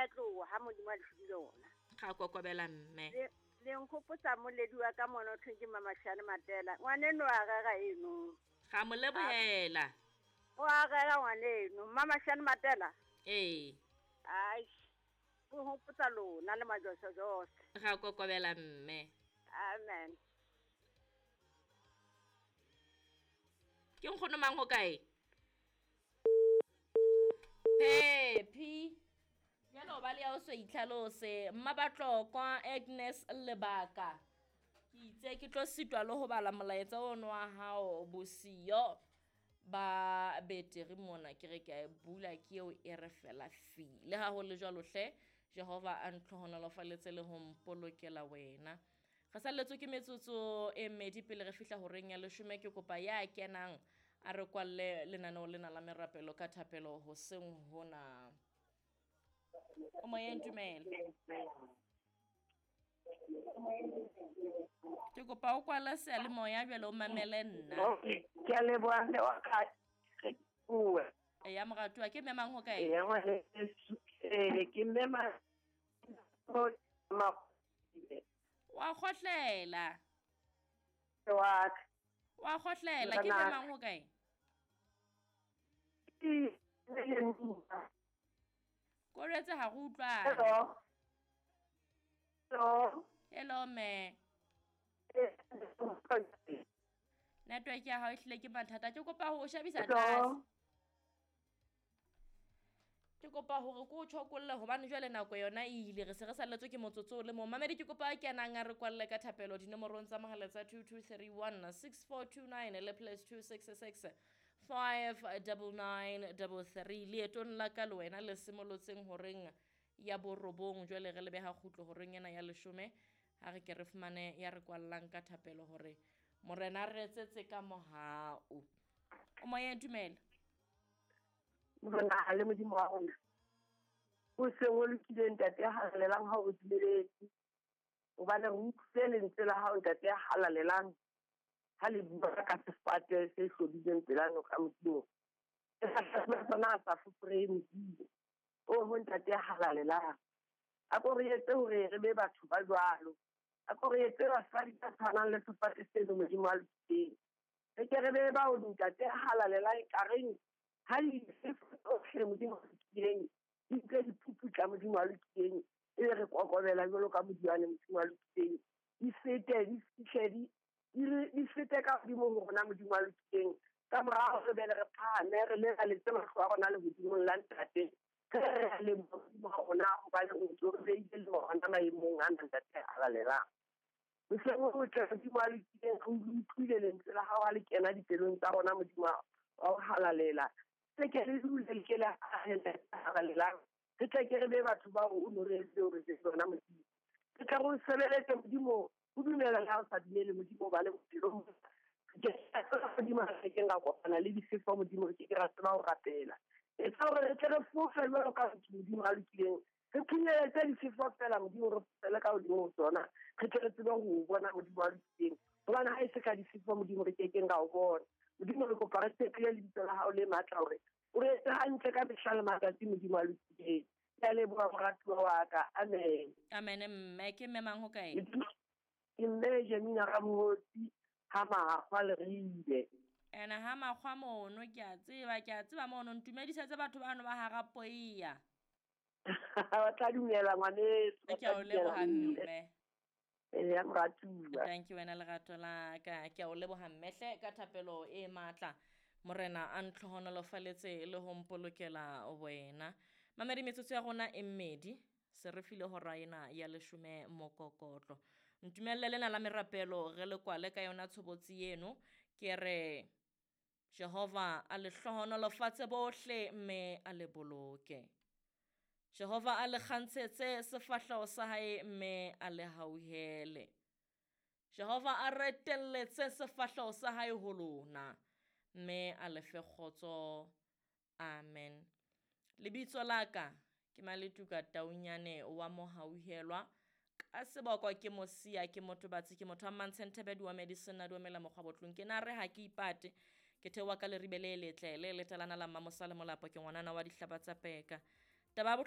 a tloha ha Modimo a le file ona. Ga kokobela mme. Le nkgopotsa moledi wa ka mona o thweng ke Mamashane Matela. Ngwaneno a rera eno. Ga mo lebohela. O a rera ngwaneno. Mamashane Matela. Ee. Ai. Go hopotsa lona le majosojose. Ga kokobela mme. Amen. Ke nkgono mang ho kae? Phephi. Jalo ba le ya o so itlhalose Mmabatlokwa Agnes Lebaka. Ke itse ke tlo sitwa le ho bala molaetsa ono wa hao bosiyo ba beteri mona ke re ke a e bula ke eo e re fela fi. Le ha ho le jwalo hle Jehova a ntlhohonolofaletse le ho mpolokela wena. Re salletswe ke metsotso e mmedi pele re fihla horeng ya leshome. Ke kopa ya kenang a re kwalle lenaneo lena la merapelo ka thapelo hoseng hona. O moyeng, dumela. Ke kopa o kwala seyalemoya jwale o mamele nna. Ke a leboha mme wa ka. Re bue. Eya moratuwa, ke mme mang ho kae? Eya ngwaneso, ke mme Wa kgohlela. Wa ka. Wa kgohlela, ke mme mang ho kae? Koretse ha re utlwane. Hello. Hello. Hello me. Network ya hao e hlile ke mathata. Ke kopa ho o shebisa tlase. Ke kopa hore ke o tjhokolle hobane jwale nako yona e ile, re se re salletswe ke motsotso o le mong. Mamedi ke kopa a kenang a re kwalle ka thapelo dinomorong tsa mohala tsa 2231 6429 le plus 266 59933. Leetong la ka le wena le simolotseng horeng ya borobong, jwale re lebe ha kgutlo horeng ena ya leshome. Ha re ke re fumane ya re kwallang ka thapelo hore Morena a re etsetse ka mohau. O moyeng, dumela. Morena le Modimo wa rona, o seng o lokile Ntate ya halalelang ha o dumeletse, hobane re utlwile lentswe la hao Ntate ya halalelang ha le bua ka sefate se hlodileng pela noka Modimo. Sefate sona ha sa foforehe Modimo. Oho Ntate ya halalelang, a ko re etse hore re be batho ba jwalo, a ko re etse basadi ba tshwanang le sefate seno Modimo a lokileng. Re ke re be bao Ntate ya halalelang ekareng ha difefo tsohle Modimo a lokileng di utlwe diphuputla Modimo a lokileng, e be re kokobela jwalo ka modiwane Modimo a lokileng, di fete di fihle di fete ka hodimo ho rona Modimo a lokileng. Ka morao re be re phahame re lebaletse mahlo a rona lehodimong la Ntate. Re re a leboha Modimo wa rona hobane o ntso re beile le rona maemong ana Ntate a halalelang. Hoseng ho tle Modimo a lokileng, re utlwile lentswe la hao ha le kena dipelong tsa rona Modimo wa ho halalela. Se ke re dule le ke le halalelang, re tle ke re be batho bao o no re entse hore re bona Modimo. Re tle re o sebeletse Modimo, o dumela le ha o sa dumele Modimo ba le bophelong. Ke tseba Modimo ha re keng ra kopana le difefo Modimo, re ke ke ra tseba ho rapela. Etsa hore re tle re fofe jwalo ka batho Modimo a lokileng, re phunyeletse difefo fela Modimo, re fofele ka hodimo ho tsona, re tle re tsebe ho bona Modimo a lokileng. Hobane ha e se ka difefo Modimo re ke keng ra o bona. Modimo re kopa re tshepile lebitso la hao le matla hore o re etse hantle ka mehla le matsatsi Modimo a lokileng. Ke a leboha moratuwa wa ka. Amen. Amen mme. Ke mme mang ho kae? Ke mme Jemina Ramotsi ha Makgwa Leribe. Ena ha Makgwa mono ke a tseba, ke a tseba mono ntumedisetse batho bano ba hara Poiya. Ba tla dumela ngwaneso. Ke a o leboha mme. Eya moratuwa. Thank you wena lerato la ka. Ke a o leboha mme hle ka thapelo e matla. Morena a ntlhohonolofaletse le ho mpolokela wena. Mamedi metsotso ya rona e mmedi se re file hora ena ya leshome mokokotlo. Ntumelle lena la merapelo re le kwale ka yona tshobotsi eno. Ke re Jehova a le hlohonolofatse bohle mme a le boloke. Jehova a le kgantshetse sefahleho sa hae mme a le hauhele. Jehova a retelletse sefahleho sa hae ho lona mme a le fe kgotso. Amen. Lebitso la ka ke Maletuka Taunyane wa Mohauhelwa. Ka seboko ke Mosia, ke motho batsi, ke motho wa Mmantshenthebe, di wa medicine, di wa mela mokgwa botlong. Ke na re ha ke ipate, ke theoha ka leribe le letle le letalana la Mmamosa le Molapo, ke ngwanana wa dihlaba tsa peka. Taba